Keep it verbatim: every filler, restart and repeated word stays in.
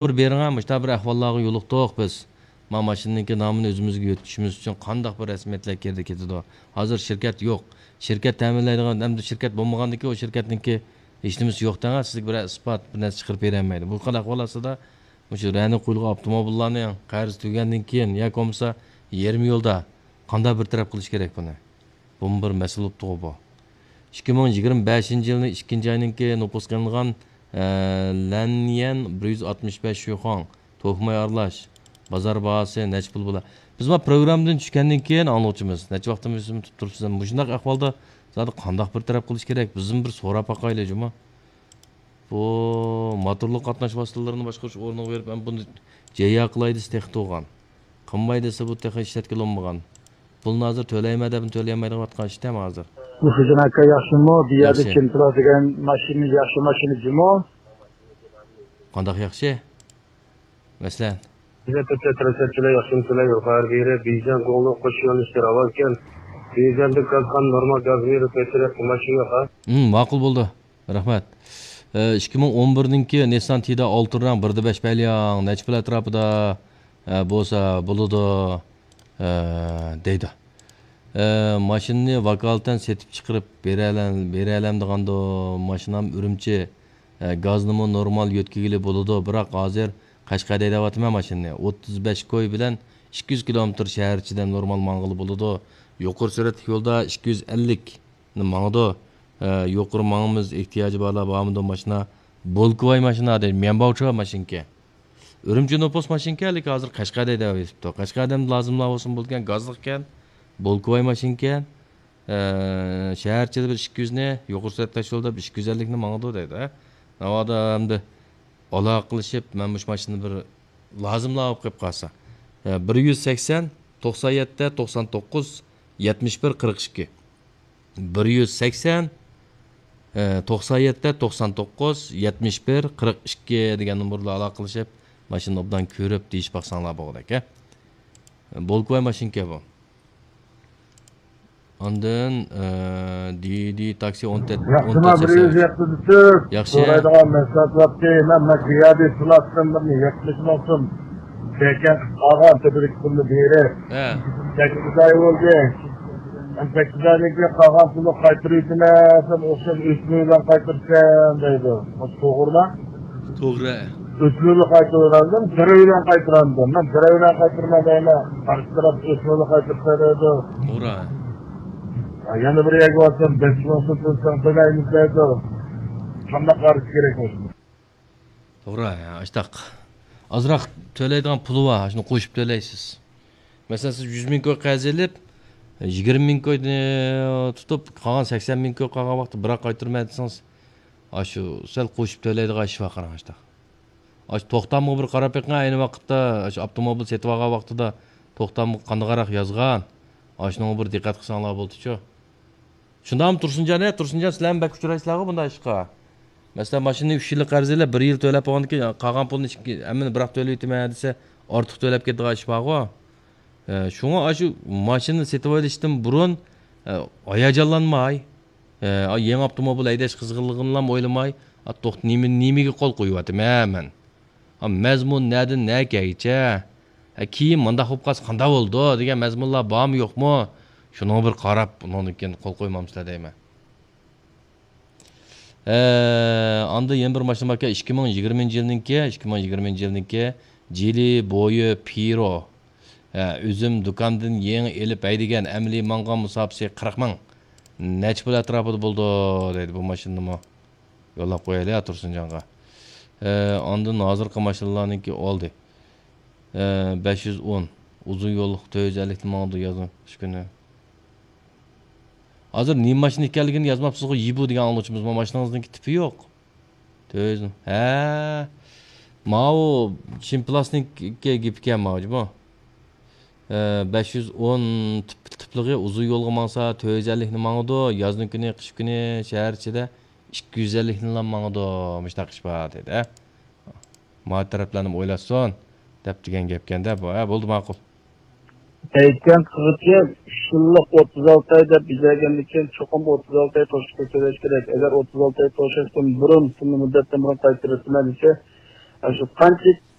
بىر بېرىڭە، مۇشۇنداق بىر ئەھۋاللارغا يولۇقتۇق بىز. ما ماشىنىنىڭكى نامىنى ئۆزىمىزگە يۆتكىشىمىز ئۈچۈن قانداق بىر رەسمىيەتلەر كىرىدۇ كېتىدۇ؟ ھازىر شىركەت يوق. شىركەت تەمىنلەيدىغان، ئەمدى شىركەت بولمىغاندىن كېيىن ئۇ شىركەتنىڭكى ھېچنېمىسى يوق دەڭە، سىزگە بىر ئىسپات، بىر نەرسە چىقىرىپ بېرەلمەيدۇ. بۇ خىل ئەھۋال ئاستىدا مۇشۇ رەنە قويۇلغان ئاپتوموبىللارنىڭ قەرزى تۈگىگەندىن كېيىن ياكى بولمىسا يېرىم يولدا قانداق بىر تەرەپ قىلىش كېرەك بۇنى؟ بۇمۇ بىر مەسىلە بوپتىغۇ بۇ. ئىككى مىڭ يىگىرمە بەشىنچى يىلنىڭ ئىككىنچى ئاينىڭكى نوپۇس قىلىنغان، ئە، لەنيەن بىر يۈز ئاتمىش بەش شۈيخۇاڭ، توكماي ئارىلاش، بازار باھاسى نەچچە پۇل بولا؟ بىز ما پروگراممىدىن چۈشكەندىن كېيىن ئاڭلىغۇچىمىز، نەچچە ۋاقتىمىز تۇتۇپ تۇرۇپسىز، مۇشۇنداق ئەھۋالدا زادى قانداق بىر تەرەپ قىلىش كېرەك؟ بىزمۇ بىر سوراپ باقايلى جۇمۇ. بۇ موتورلۇق قاتناش ۋاسىتىلىرىنى باشقۇرۇش ئورنىغا بېرىپ، مەن بۇنى جەييا قىلاي دېسە تېخى تۇرغان. قىلماي دېسە بۇ تېخى ئىشلەتكىلى بولمىغان. پۇلنى ھازىر تۆلەيمەن دەپمۇ تۆلىيەلمەيدىغان ۋاتقان ئىشتەم ھازىر. مۇھىدىن ئاكا ياخشىمۇ؟ بۇ يەردە ياخشى. كىمپلا دېگەن ماشىنا ياخشى ماشىنا جۇمۇ؟ قانداق ياخشى؟ مەسىلەن؟ بىزە تۆتتە تىرىشەتچىلەر ياخشىمۇسىلەر يۇقىرى بېرى بېيجىڭ گۇڭلۇڭ قوش يۆنىلىشتە راۋانكەن. بېيجىڭدىن كازخان نورمال گاز بېرىپ كەتتى دەپ ماشىنا يوق ھە؟ ھىم، ماقۇل بولدى. رەھمەت. ئە، ئىككى مىڭ ئون بىرنىڭكى نىسسان تىدا ئالتە رەڭ، بىردە بەش پەلياڭ، نەچچە پۇل ئەتراپىدا، ئە، بولسا بولىدۇ، ئە، دەيدۇ. ئە، ماشىنىنى ۋاكالىتەن سېتىپ چىقىرىپ بېرەلەم-، بېرەلەمدىغاندۇ؟ ماشىنام ئۈرۈمچى. ئە، گازنىمۇ نورمال يۆتكىگىلى بولىدۇ، بىراق ھازىر قەشقەردە ھەيدەۋاتىمەن ماشىنىنى. ئوتتۇز بەش كوي بىلەن ئىككى يۈز كىلومېتىر شەھەر ئىچىدە نورمال ماڭغىلى بولىدۇ. يۇقىرى سۈرئەتلىك يولدا ئىككى يۈز ئەللىك ماڭىدۇ. ئە، يۇقىرى ماڭىمىز، ئېھتىياجى بارلار بارمىدۇ ماشىنا؟ بولكىۋاي ماشىنا دەيدۇ، ميەنباۋچۇ ماشىنىكەن. ئۈرۈمچى نوپۇس ماشىنىكەن، لېكىن ھازىر قەشقەردە ھەيدەۋېتىپتۇ. قەشقەردە لازىملار بولسىمۇ بولىدىكەن، گازلىقكەن، بولكىۋاي ماشىنىكەن. ئە، شەھەر ئىچىدە بىر ئىككى يۈزنى، يۇقىرى سۈرئەت تاشيولدا بىر ئىككى يۈز ئەللىكنى ماڭىدۇ دەيدۇ، ھە. ناۋادا ئەمدى ئالاقىلىشىپ، مەن مۇشۇ ماشىنىنى بىر لازىملار بولۇپ قېلىپ قالسا. ئە، بىر يۈز سەكسەن، توقسان يەتتە، توقسان توققۇز، يەتمىش بىر، قىرىق ئىككى. بىر يۈز سەكسەن، ئە، توقسان يەتتە، توقسان توققۇز، يەتمىش بىر، قىرىق ئىككى دېگەن نومۇردا ئالاقىلىشىپ، ماشىنىنى ئوبدان كۆرۈپ دېيىشىپ باقساڭلار بولغۇدەك، ھە. بولكىۋاي ماشىنىكەن بۇ. ئاندىن، ئە، دى دى تاكسى ئون تۆت، ياخشىما، بىر يۈز يەتتە. ياخشى. سورايدىغان مەھسۇلات باركى، مەن، مەن قىيادى پلاتفورمىنى يەتمىش مىڭ سوم بەكەن قىلىپ قالغان تۆپىلىك پۇلنى بېرىپ. ھە. سەككىز ئاي بولدى. مەن سەككىز ئايدىن كېيىن قالغان پۇلنى قايتۇرۇۋېتىمەن دېسەم، ئوخشاش ئۆسمە بىلەن قايتۇرىسەن دەيدۇ. بۇ توغرىما؟ توغرا. ئۆسمە بىلەن قايتۇرۇۋېرەمدىم، بىر بىلەن قايتۇرامدىم. مەن بىر بىلەن قايتۇرىمەن دەيمەن. قارشى تەرەپ ئۆسمە بىلەن قايتۇرسا دەيدۇ. توغرا. يەنە بىر يەرگە بارسام، بەش مىڭ سوم تۆلىسەڭ تۆلەيمىز دەيدۇ. قانداق قارىش كېرەك مۇشۇنى؟ توغرا، ئاشتاق. ئازراق تۆلەيدىغان پۇلى بار، شۇنى قوشۇپ تۆلەيسىز. مەسىلەن، سىز يۈز مىڭ كوي قەرز ئېلىپ، يىگىرمە مىڭ كوينى تۇتۇپ، قالغان سەكسەن مىڭ كوي قالغان ۋاقىتتا بىراق قايتۇرىمەن دېسىڭىز، ئاشۇ سەل قوشۇپ تۆلەيدىغان ئىش بار، قاراڭ، ئاشتاق. ئاشۇ توختامغا بىر قاراپ بېقىڭ، ئەينى ۋاقىتتا ئاشۇ ئاپتوموبىل سېتىۋالغان ۋاقتىدا توختامغا قانداقراق يازغان، ئاشۇنىڭغا بىر دىققەت قىلساڭلار بولدىچۇ. شۇنداقمۇ تۇرسۇنجان؟ ھە، تۇرسۇنجان، سىلەرمۇ بەك ئۇچرايسىلەرغۇ بۇنداق ئىشقا. مەسىلەن، ماشىنىنى ئۈچ يىللىق قەرز ئېلىپ، بىر يىل تۆلەپ بولغاندىن كېيىن، قالغان پۇلنى ئىككى، ھەممىنى بىراق تۆلەۋېتىمەن دېسە، ئارتۇق تۆلەپ كېتىدىغان ئىش بارغۇ. ئە، شۇڭا ئاشۇ ماشىنا سېتىۋېلىشتىن بۇرۇن، ئە، ھاياجانلانماي، ئە، يېڭى ئاپتوموبىل ھەيدەش قىزغىنلىقىنىلا ئويلىماي، ئا، توختا، نېمە، نېمىگە قول قويۇۋاتىمەن مەن؟ ھا، مەزمۇن نەدىن نەگىچە؟ ھە، كېيىن مۇنداق بولۇپ قالسا قانداق بولىدۇ دېگەن مەزمۇنلار بارمۇ يوقمۇ؟ شۇنىڭغا بىر قاراپ، ئۇنىڭدىن كېيىن قول قويمامسىلەر دەيمەن. ھە، ئاندىن يەنە بىر ماشىنا باركەن، ئىككى مىڭ يىگىرمىنچى يىلنىڭكى، ئىككى مىڭ يىگىرمىنچى يىلنىڭكى جىلى بويى پىرو. ھە، ئۆزۈم دۇكاندىن يېڭى ئېلىپ ھەيدىگەن، ئەمەلىي ماڭغان مۇساپىسى قىرىق مىڭ. نەچچە پۇل ئەتراپىدا بولىدۇ دەيدۇ بۇ ماشىنىنىمۇ. يوللاپ قويايلى، ھە، تۇرسۇنجانغا. ئە، ئاندىن ھازىرقى ماشىنىلارنىڭكى ئالدى. ئە، بەش يۈز ئون. ئۇزۇن يوللۇق تۆت يۈز ئەللىكتە ماڭىدۇ يازنىڭ قىش كۈنى. ھازىر نېمە ماشىنا ئىكەنلىكىنى يازماپسىزغۇ، يىبۇ دېگەن ئاڭلىغۇچىمىز، ما ماشىنىڭىزنىڭكى تىپى يوق. تۆت يۈز. ھە. ماۋۇ چىن پىلاستىنىڭكى گېپىكەن ماۋۇ، جۇمۇ. ئە، بەش يۈز ئون تىپ-، تىپلىقى ئۇزۇن يولغا ماڭسا، تۆت يۈز ئەللىكنى ماڭىدۇ. يازنىڭ كۈنى، قىش كۈنى شەھەر ئىچىدە ئىككى يۈز ئەللىكنىلا ماڭىدۇ. مۇشۇنداق ئىش بار دېدى، ھە. ما تەرەپلەرنىمۇ ئويلاشسۇن دەپ دېگەن گەپكەندە بۇ. ھە، بولدى، ماقۇل. ئېيتكەن قىلغۇچى، ئۈچ يىللىق ئوتتۇز ئالتە ئاي دەپ بېجىرگەندىن كېيىن، چوقۇم ئوتتۇز ئالتە ئاي توشۇشقا تۆلەش كېرەك. ئەگەر ئوتتۇز ئالتە ئاي توشۇشتىن بۇرۇن، شۇ مۇددەتتىن بۇرۇن قايتۇرۇۋېتىمەن دېسە، ئاشۇ قانچە